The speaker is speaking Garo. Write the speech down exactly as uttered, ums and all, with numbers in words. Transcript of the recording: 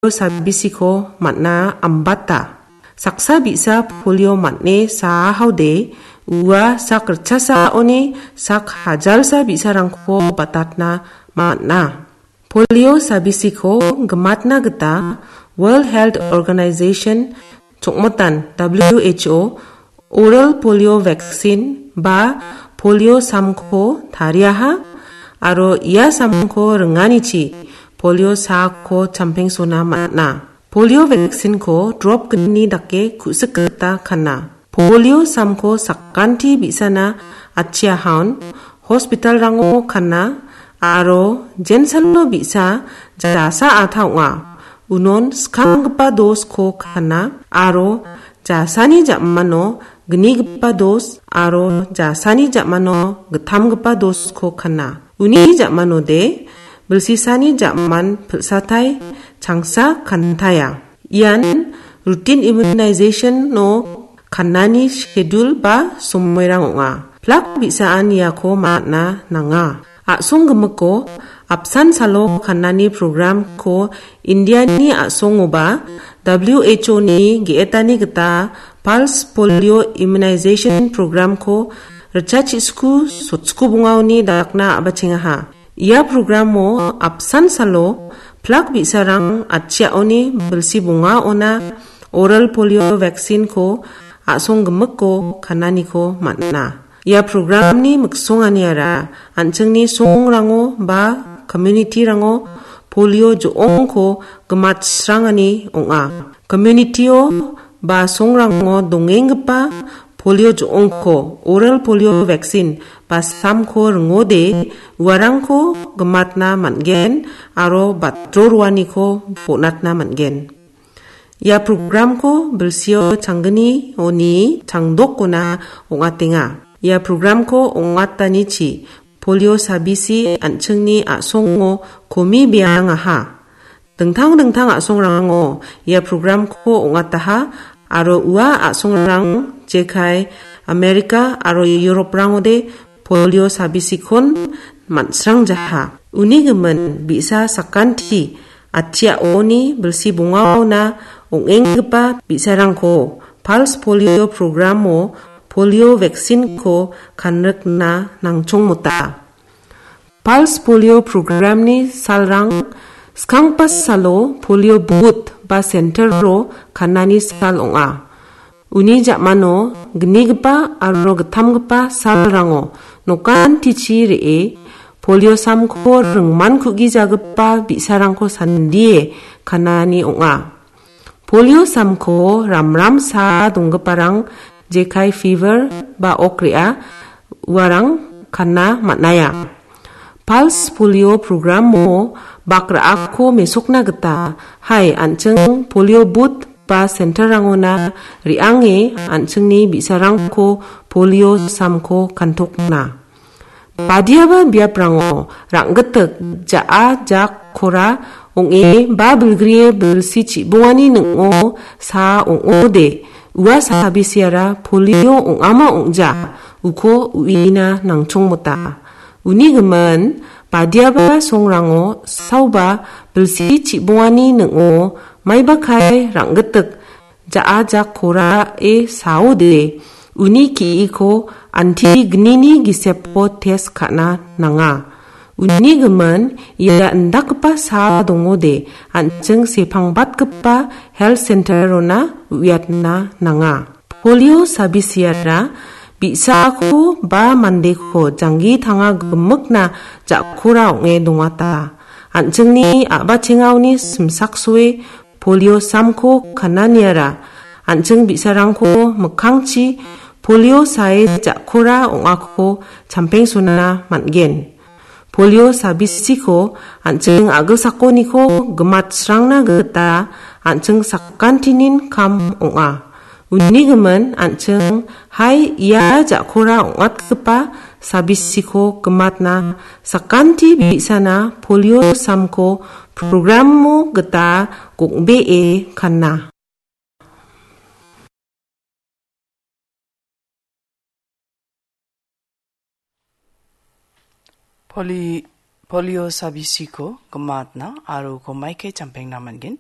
sabisiko man·a ambata. Saksa bi·sa polio man·e saahaode ua sak ritchasaoni sak hajalsa bi·sarangko batatna man·a. Polio sabisiko gimatna gita World Health Organization chongmotan W H O oral polio vaccine ba polio samko tariaha aro ia samko ringanichi polio saako champengsona man·a. Polio vaccine-ko drop gni dake ku·sik gita kana. Polio samko sakanti bi·sana atchiahaon hospital-rango kana aro jensalo bi·sa jasa ata ong·a. Unon skanggipa dos-ko kana aro jasani ja·mano gnigipa dos aro jasani ja·mano gittamgipa dos-ko kana. Uni ja·manode bilsisani ja·man pilsatai changsa kantaia. Ian routine immunization-o kannani schedule ba somoirang ong·a. Plak bi·saan iako man·a nanga. A·song gimiko apsan salo kannani program-ko Indiani a·songoba W H O-ni ge·etani gita pulse polio immunization program-ko ritchachisku sotsku bongaoni dakna a·bachengaha. Ia programo apsan salo plak bi·sarang atchiaoni bilsi bongaona oral polio vaccine-ko a·song gimiko kananiko man·a. Ia programni miksonganiara an·chingni songrango ba community-rango polio jo·ongko gimatsrangani ong·a. Community-o ba songrango dongenggipa polio jo·ongko, oral polio vaccine ba samko ringode uarangko gimatna man·gen aro batro roaniko bonatna man·gen. Ia programko bilsio changgni oni changdokona ong·atenga. Ia programko ong·atanichi polio sabisi an·chingni a·songo komi beangaha. Dingtang dingtang a·songrango ia programko ong·ataha aro ua a·songrang jekai Amerika aro Europe-rangode polio sabisikon man·srangjaha. Uni gimin bi·sa sakanti atchiaoni bilsi bongaona ong·enggipa bi·sarangko pulse polio programo polio vaccine-ko kanrikna nangchongmota. Pulse polio programni salrang skangpa salo polio booth ba center-o kanani sal ong·a. Uni ja·mano gnigipa aro gittamgipa salrango nokantichi re·e polio samko ringman ku·gijagipa bi·sarangko sandie kanani ong·a. Polio samko ramramsa donggiparang jekai fever ba ok re·a uarang kana man·aia. Pulse polio programo bak ra·akko mesokna gita, hai, an·ching polio booth ba center-rangona re·ange an·chingni bi·sarangko polio samko kantokna. Badiaba biaprango rang·gitik ja·a jak kora ong·e ba bilgrie bilsi chibongani ning·o sa ong·ode, ua sabisiara polio ong·ama ong·ja, uko uina nangchongmota. Uni gimin, badiaba songrango saoba bilsi chibongani ning·o maiba kai rang·gitik ja·a jak korae saode, uni ki·iko anti gnini gisepo test ka·na nanga. Uni gimin, ia indakgipa sa dongode, an·ching sepangbatgipa health center-ona uiatna nanga. Polio sabisiara bi·sako ba mandeko janggi tanga gimikna ja·kora ong·e dongata. An·chingni a·bachengaoni simsaksoe polio samko kananiara an·ching bi·sarangko mikkangchi polio sae ja·kora ong·ako champengsona man·gen. Polio sabisiko an·ching a·gilsakoniko gimatsrangna gita an·ching sakantinin kam ong·a. Uni gimin an·ching, hai, ia ja·kora ong·atgipa sabisiko gimatna sakanti bi·sana polio samko programo gita gong·bee kana. Poli-, polio sabisiko gimatna aro uko maike champengna man·gen.